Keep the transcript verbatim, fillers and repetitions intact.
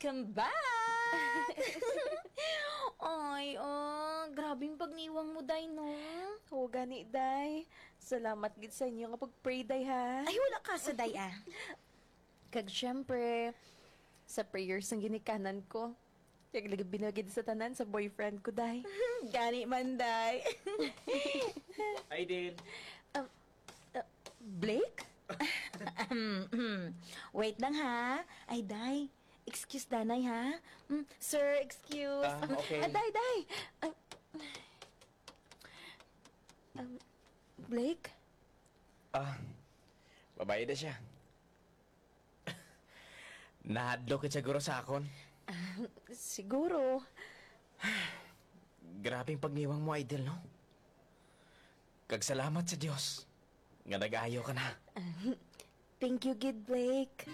Welcome back! Ay, oh, grabing pagniwang mo, day, no? Oo, gani, day. Salamat gid sa inyo nga pag-pray, day, ha? Ay, wala ka sa day, ah. Kag syempre, sa prayers ang ginikanan ko. Kag lagi binagid sa tanan sa boyfriend ko, day. Gani man, day. Aiden. Um, uh, Blake? Wait lang, ha. Ay, day. Excuse, danay, ha? Mm, sir, excuse. Ah, okay. Ah, day, day. Ah, um, Blake? Ah, babae na siya. Nahadlok ka siguro sa akon. Siguro. Grabing pagniwang mo, Idol, no? Kag salamat sa Dios nga nag-ayo ka na. Thank you, gid, Blake.